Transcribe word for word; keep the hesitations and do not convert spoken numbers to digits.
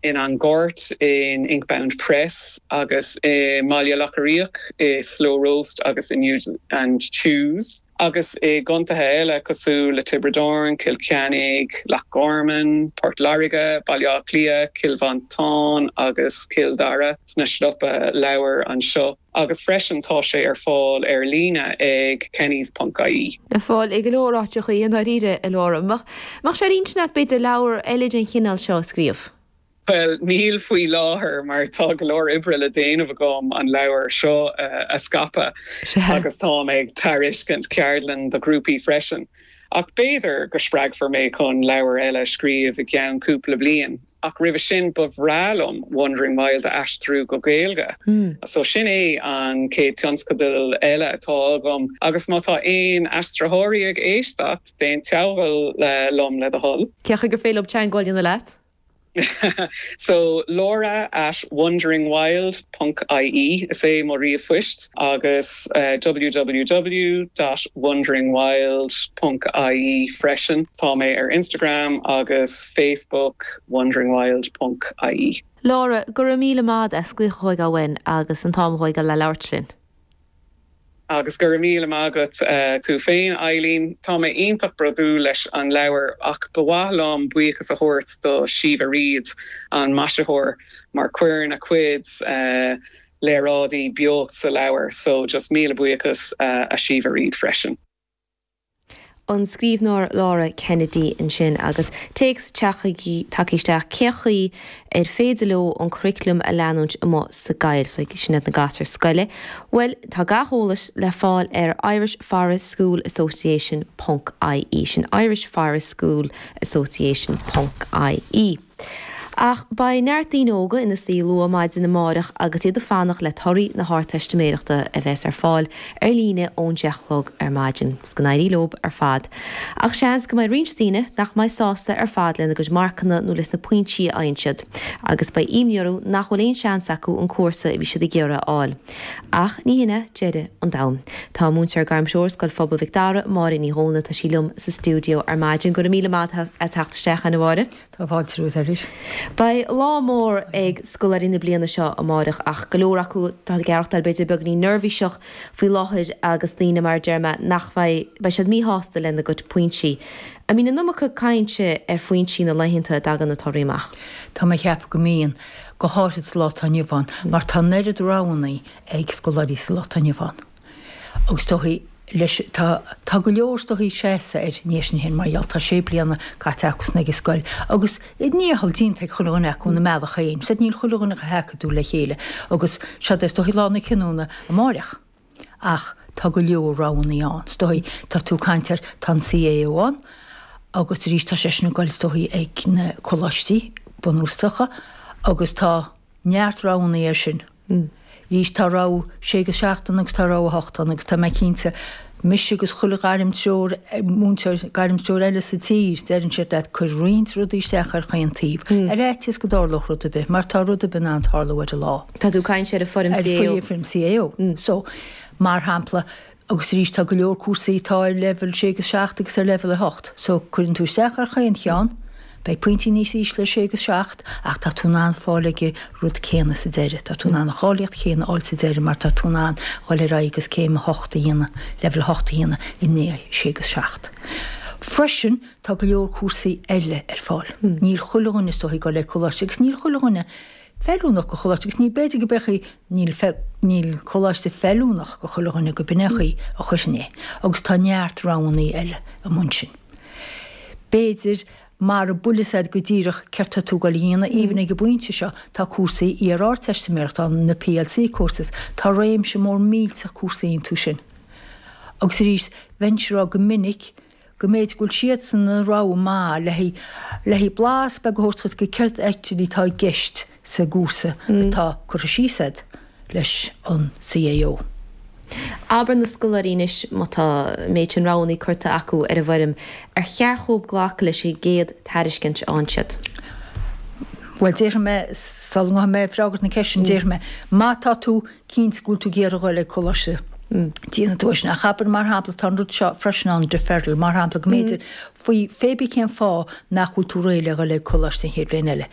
in An Gort in Inkbound Press agus i mBaile Locha Riach i Slow Roast agus in Use and Choose. Agus i gcontaetha eile cosúil le Tiobraid Árann, Cill Chainnigh, Loch Garman, Port Láirge, Baile Átha Cliath, Cill Mhantáin agus Cill Dara sna siopaí leabhar anseo. Agus freisin tá sé ar fáil ar líne ag kennys.ie. Le fáil i go leor áiteacha i ndáiríre a Laura. Mach sé intinn agat b'fhéidir leabhar eile den chineál seo a scríobh. Well níl faoi láthair mar tá go leor oibre le déanamh agam an leabhar seo uh, a scaipeadh agus tá ag tairiscint ceardlann do ghrúpaí freisin. Ach b'fhéidir go spreagfar mé chun leabhar eile scríobh i gceann cúpla bliain. Ach roimhe sin ba bhreá liom Wandering Wild a aistriú go Gaeilge. Mm. So sin é an chéad tionscadal eile atá agam agus má tá aon aistritheoirí ag éisteacht déan teagmháil liom le do thoil. Cén chaoi gur féidir leo teagmháil a dhéanamh leat? so Laura at wanderingwild.ie is é mo ríomhphost agus uh, www.wanderingwild.ie freisin Tá mé ar Instagram agus Facebook wanderingwild.ie. Laura go raibh míle maith as glaoch chugainn agus an t-am a thógáil le labhairt linn. agus go raibh míle maith agat uh, tú féin Eileen Tá mé iontach bródúil leis an leabhar ach ba mhaith liom buíochas a thabhairt do Síomha Reid an maisitheoir mar cuireann a cuid uh, léaráidí beocht sa leabhar, so just míle buíochas uh, a Síomha Reid freisin. an scríbhneoir Laura Kennedy ansin agus téacs tagtha isteach cén chaoi ar féidir leo an curriculum a leanúint amuigh sa gcoill so sin na gasúir scoile. Well tá gach eolas le fáil ar Irish Forest School Association .ie sin Irish Forest School Association .ie. Ach beidh neart daoine óga ina suí luath maidin amárach agus iad ag fanacht le torthaí na hArdteistiméireachta a bheas ar fáil ar líne ón deich a chlog ar maidin, 's go n-éirí leo ar fad. Ach seans go mbeidh roinnt daoine nach mbeidh sásta ar fad lena gcuid marcanna nó leis na pointí a fhaigheann siad, agus beidh imní orthu nach bhfuil aon seans acu an cúrsa a bhí siad ag iarraidh a fháil. Ach ní hin é deireadh an domhain. Tá múinteoir gairmthreoir Scoil Phobail Mhic Dara Máire Ní Dhóna tá sí liom sa stiúideo ar maidin go raibh míle maith as teacht isteach a Mháire. Tá fáilte romhat arís. Beidh lá mór ag scoláirí na bliana seo amárach ach go leor acu tá ag aireachtáil b'fhéidir beagáinín neirbhíseach faoi láthair agus daoine mar deir mé nach mbeidh beidh siad míshásta lena gcuid pointí. An mbíonn an iomarca cainte ar phointí na laethanta a dtagann na torthaí amach. Tá mé ag ceapadh go mbíonn go háirid sa lá atá inniu ann, mar tá an oiread roghanna ag scoláirí sa lá atá inniu ann. Agus dóichí leis tá tá go leor dóichí seasa ar níos hin mar gheall tá sé bliana caite acu ag an scoil agus níhall dínta ag chuile dhuine acu na mealach féin, Said níl chuile dhuine chomh hacadúil le chéile agus siad is dóichí lá na cinniúna amárach. Ach tá go leor roghanna ann. Dóichí tá tú ag caint ar tá an CAO ann, agus arís tá sé sin ag goil dóichí ag na coláistí bunúsacha agus tá neart roghanna air sin. Mm. Arís tá rogha sé agus seacht ann agus tá rogha a hocht ann agus tá mé cinnte mise agus chuile ghairmthreoir múinteoir gairmthreoir eile sa tír deireann siad leat cuir roinnt rudaí isteach ar chaon taobh. Mm. Ar fhaitíos go dtarlódh rud ar bith, mar tá rud ar bith in ann tarlú ar an lá. Tá tú ag caint ar an foirm CAO. Foirm CAO. Mm. So mar shampla agus arís tá go leor cúrsaí tá ar level sé agus seacht agus ar level a hocht. So cuireann tú isteach ar chaon cheann, beidh pointí níos ísle sé agus seacht ach tá tú in ann fáil ag an rud céanna sa deireadh. Tá tú in ann an cháilíocht chéanna a fháil sa deireadh mar tá tú in ann dhul ar aghaidh agus céim a hocht a dhéanamh, level a hocht a dhéanamh i ndiaidh sé agus seacht. Freisin tá go leor cúrsaí eile ar fáil. Mm. Níl chuile dhuine is dóichí ag goil ag coláiste agus níl chuile dhuine feiliúnach go choláiste agus ní b'fhéidir go bechaí níl níl coláiste feiliúnach go chuile dhuine go binnechaí a chuisin é, agus tá neart roghanna eile amuigh ansin. B'fhéidir mar a builesaid go díreach cearta tú go líana even ag an bpointe seo tá cúrsaí iar-ardteistiméireachta na PLC courses tá réimse mór millteach cúrsaí iontu sin. Agus arís bheinnse ag rá go minic go mb'fhéidir go bhfuil siadsan an rogha maith le le blas beag a thabhairt go céard actually tá i gceist sa gcúrsa atá curtha síos agat leis an CAO. Abair na scoláirí anois má tá méid sin roghanna curtha acu ar an bhfoirm ar cheart dóibh glacadh leis an gcéad tairiscint a fhaigheann siad. Well déarfaidh mé sula ngabhfaidh mé ag freagairt na ceiste sin déarfaidh mé má tá tú cinnte go bhfuil tú ag iarraidh dhul ag coláiste déanfaidh tú é sin ach abair mar shampla tá an rud seo freisin ann deferral mar shampla go mb'fhéidir faoi pé ar bith cén fáth nach bhfuil tú réidh le dhul ag coláiste an chéad bhliain eile.